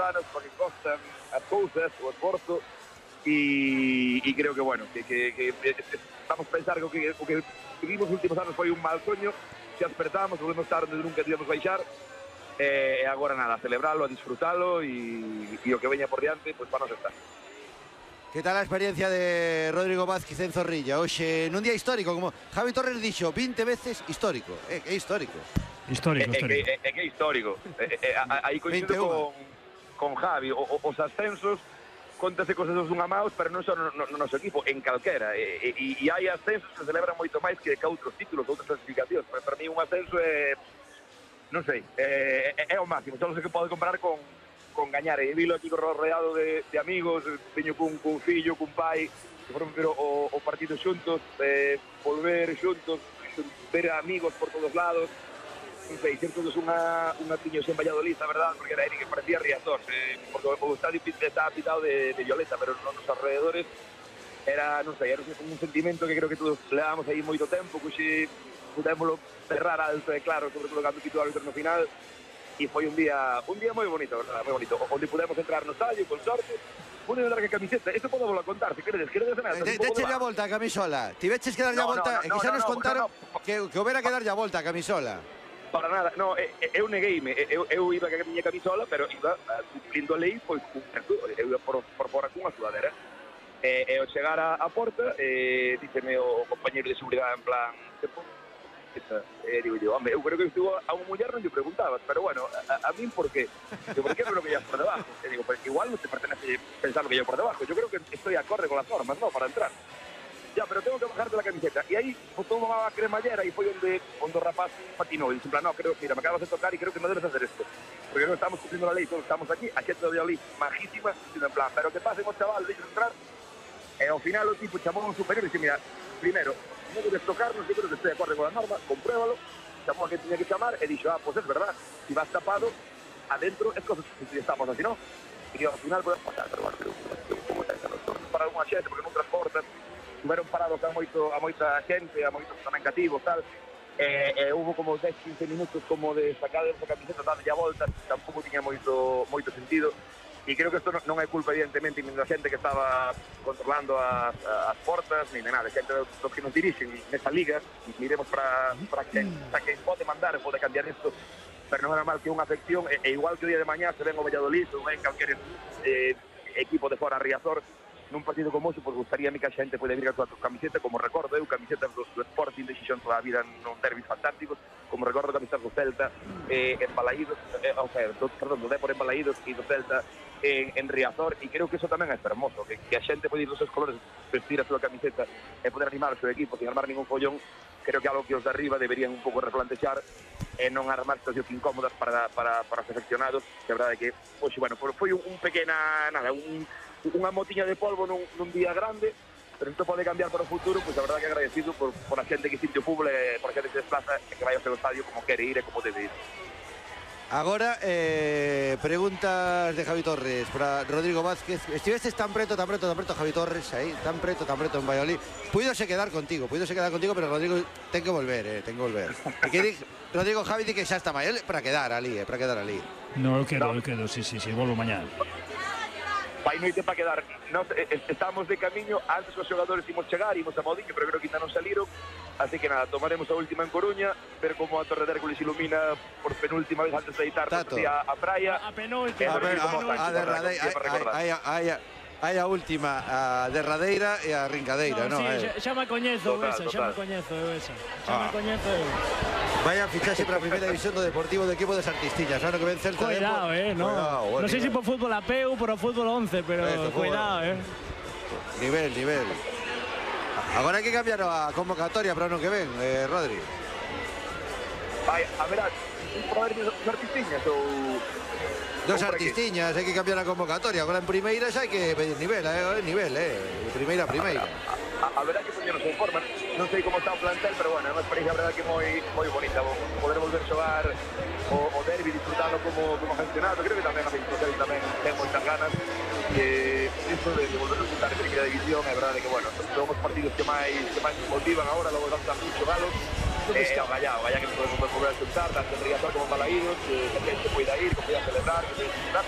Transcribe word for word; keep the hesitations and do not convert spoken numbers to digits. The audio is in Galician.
anos para que costan as cousas, o esforzo, e, e creo que, bueno, que, que, que, que vamos a pensar que o que, o que vivimos os últimos anos foi un mal soño, se despertamos, volvemos a estar onde nunca íbamos baixar, e agora nada, a celebralo, a disfrutalo, e, e o que veña por diante, pois pues, para nos estar. Que tal a experiencia de Rodrigo Vázquez en Zorrilla? Oxe, nun día histórico, como Javi Torres dixo, vinte veces histórico, é, é histórico. Histórico, é, histórico. É, é, é que é histórico, é, é, aí coincido con, con Javi, o, o, os ascensos, contase cosas dos dunha maus, pero non só no, no, no noso equipo, en calquera. E, e, e hai ascensos que celebran moito máis que, que outros títulos, outras clasificacións. Pero para mí un ascenso é, non sei, é, é, é o máximo. Só sei que pode comparar con, con gañar. E vilo aquí rodeado de, de amigos, teño cun, cun fillo, cun pai, que foron ver o, o partido xuntos, eh, volver xuntos, ver amigos por todos lados. Non sei, ser todos unha, unha tiños en Valladolid, a verdade, porque era que parecía Riazor, eh, porque o estadio estaba pitado de, de violeta, pero nos alrededores era, non sei, era un sentimento que creo que todos levamos aí moito tempo, que xe pudémoslo cerrar alto e claro, sobre todo cando pitou o árbitro no final, e foi un día un día moi bonito, verdad, moi bonito, onde pudemos entrar no estadio, con sorte, pudemos dar que camiseta, isto podo volo contar, se queredes, queredes nada. De, Deche a volta a camisola, ti veches que dar a volta, e que xa nos contaron que houbera que dar a volta a camisola. Para nada, no, eu negueime, eu, eu iba a miña camisola, pero iba cumplindo a lei, pois cumplindo, eu iba por, por fora cunha sudadera. E, e ao chegar a, a porta, eh, díceme o compañeiro de seguridade en plan, e digo yo, home, eu creo que estuvo a unha muller non lle preguntabas, pero bueno, a, a min por qué? Digo, por qué creo que llevas por debajo? E digo, porque igual non te pertenece pensar lo que llevo por debajo, yo creo que estoy acorde con las normas, ¿no?, para entrar. Ya, pero tengo que bajarte la camiseta. Y ahí botou unha cremallera e foi onde, onde o rapaz patinou. E dixo, en plan, no, creo, mira, me acabas de tocar e creo que no debes hacer esto. Porque non estamos cumplindo a lei, todos estamos aquí, a xente de Valladolid, majísima, dicindo en plan, pero que pasen os chavales, deixen entrar. E ao final o tipo chamou a un superior e dixe, mira, primero, non debes tocarnos, yo creo que estoy de acordo con a norma, compruébalo, chamou a que tiña que chamar e dixo, ah, pues es verdad, si vas tapado, adentro es cosas que estamos así, ¿no? E ao final podemos pasar, pero bueno, como ten, para unha xente, porque non transportan, estiveron parados a moito a moita xente, a moitos tamén cativos, tal. E, e hubo como dez a quince minutos como de sacar esa camiseta, darlle a volta, tampouco tiña moito moito sentido. E creo que isto non é culpa, evidentemente, nin da xente que estaba controlando as, as portas, nin de nada, xente dos que nos dirixen nesa liga, miremos para, para que, para que pode mandar, pode cambiar isto, pero non era mal que unha afección, e, e igual que o día de mañá se ven o Valladolid, ou ven calquer eh, equipo de fora Riazor, nun partido como ese, pois gustaría a mí que a xente pode vir a túa camiseta, como recordo eu, camiseta do, do Sporting de Xixón toda a vida non derbis fantásticos, como recordo camisetas do Celta, eh, en Balaídos, eh, o sea, do, perdón, do Dépor en Balaídos e do Celta en, en Riazor, e creo que eso tamén é hermoso, que, que a xente pode ir dos seus colores, vestir a súa camiseta e poder animar o seu equipo sin armar ningún follón. Creo que algo que os de arriba deberían un pouco replantexar e non armar situacións incómodas para, para, para os afeccionados, que a verdade é que, pois, bueno, foi un, un pequena, nada, un unha motiña de polvo nun, nun día grande, pero isto pode cambiar para o futuro, pois a verdade que agradecido por, por a xente que sinte o fútbol, por a xente que se desplaza e que vai ao seu estadio como quere ir e como debe ir. Agora, eh, preguntas de Javi Torres para Rodrigo Vázquez. Estivestes tan preto, tan preto, tan preto, Javi Torres, aí, tan preto, tan preto en Valladolid. Puídose quedar contigo, puídose quedar contigo, pero Rodrigo ten que volver, eh, ten que volver. E que di, Rodrigo Javi di que xa está mal, para quedar ali, eh, para quedar ali. No, eu quedo, eu quedo, sí, sí, sí, volvo mañana. Vai noite para quedar. Nos estamos de camiño, antes os xogadores imos chegar, imos a Modiño, pero creo que ainda non saliron. Así que nada, tomaremos a última en Coruña, ver como a Torre de Hércules ilumina por penúltima vez antes de editarnos a, a praia. A penúltima, a, ver, a, a, a derradeira, hai, hai, hai a última, a derradeira e a rincadeira, no, non? Sí, eh. xa me coñezo total, esa, total. xa me coñezo eu esa. Xa Ah. me coñezo eu. Vaya fichaxe para a primeira división do Deportivo do equipo das Artistiñas, ano que ven Celta. Cuidado, eh, no. Cuidado, No sei se por fútbol a peu ou por o fútbol once, pero Esto, cuidado, eh. Nivel, nivel. Agora hai que cambiar a convocatoria para o ano que ven, eh, Rodri. Vai, a ver, para ver os artistiñas ou... Dos artistiñas, hai que cambiar a convocatoria. Agora en primeira xa hai que pedir nivel, eh, nivel, eh. De primeira a primeira. A, a verdad que poñenos en forma, non sei como está o plantel, pero bueno, é unha experiencia a verdad que moi moi bonita, poder volver a xogar o, o derbi, disfrutarlo como, como aficionado. Creo que tamén a Victoria tamén ten moitas ganas, que isto de, de volver a disfrutar en primeira división, é verdade que bueno, son os partidos que máis que máis nos motivan agora, logo vamos a mucho galos. Eh, o Gallá, o Gallá que nos podemos volver a disfrutar, tanto en Riazor como en Balaídos, que a xente poida ir, que poida celebrar, que, que, que ganas